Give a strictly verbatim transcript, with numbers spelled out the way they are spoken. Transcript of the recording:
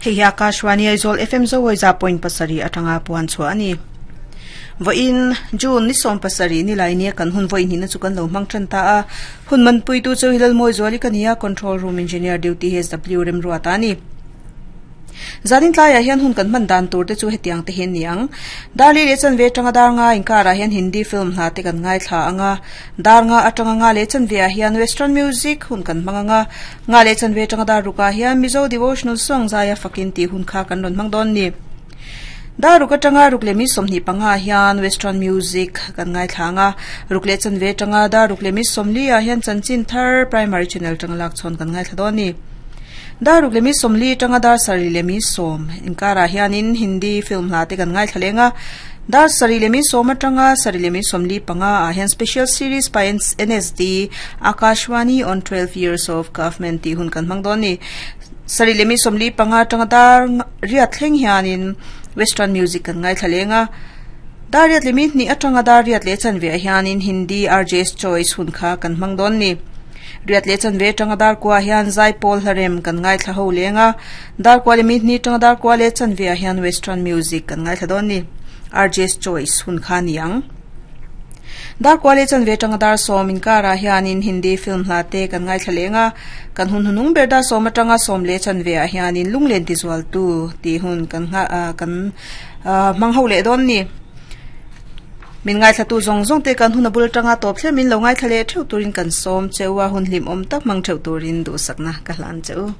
Hei hi Akashvani Aizawl F M Zoawi za point pasarih atanga puan chhuah a ni. Vawiin June ni sawm pasarih ni lai nia kan hun vawiin hnih na chu kan lo hmang tan ta a. Hun man pui tu chu Hilal Mawi Zuali ka ni a, Control Room Engineer Duty H W Remruata a ni. Zanin tlaiah hian hun kan hman dan tur te chu hetiang te hian ni ang. Darli leh chanve atanga dar nga inkarah hian Hindi film hna te kan ngaithla anga. Dar nga atanga nga leh chanve ah hian Western music hun kan hmang anga. Nga leh chanve atanga dar rukah hian Mizo devotional song zaia fakin tih hun kha kan rawn hmang dawn ni. Dar ruk atanga ruk leh mi sawmhnih panga hian Western music kan ngaithla anga. Ruk leh chanve atanga dar ruk leh mi sawmli ah hian chanchin thar primary channel atanga lak chhawn kan ngaithla dawn ni. Dar ruk leh mi sawmli atanga dar sarih leh mi sawm inkarah hianin Hindi film hla te kan ngaithla leng a. Dar sarih leh mi sawm atanga sarih leh mi sawmli panga ah hian special series by N S D Akashvani on twelve years of government tih hun kan hmang dawn ni. Sarih leh mi sawmli panga atanga dar riat thleng hianin Western music kan ngaithla leng a. Dar riat leh mi hnih atanga dar riat leh chanve ah hianin Hindi R J's Choice hun kha kan hmang dawn ni. Riat leh chanve atanga dar kua hian Zaipawl hlarem kan ngaithla ho leng a. Dar kua leh mi hnih atanga dar kua leh chanve ah hian Western music kan ngaithla dawn ni. R J's Choice hun kha ni ang. Dar kua leh chanve atanga dar sawm inkarah hianin Hindi film hla te kan ngaithla leng a. Kan hun hunung ber dar sawm atanga sawm leh chanve ah hianin lunglen ti zual tu tih hun kan kan hmang ho leh dawn ni. Min ngaithla tu zawng zawng te kan hun a bul atanga tawp thlem in lo ngaithla leh theuh turin kan sawm cheu a, hun hlim awm tak hmang theuh turin duhsakna ka hlan cheu.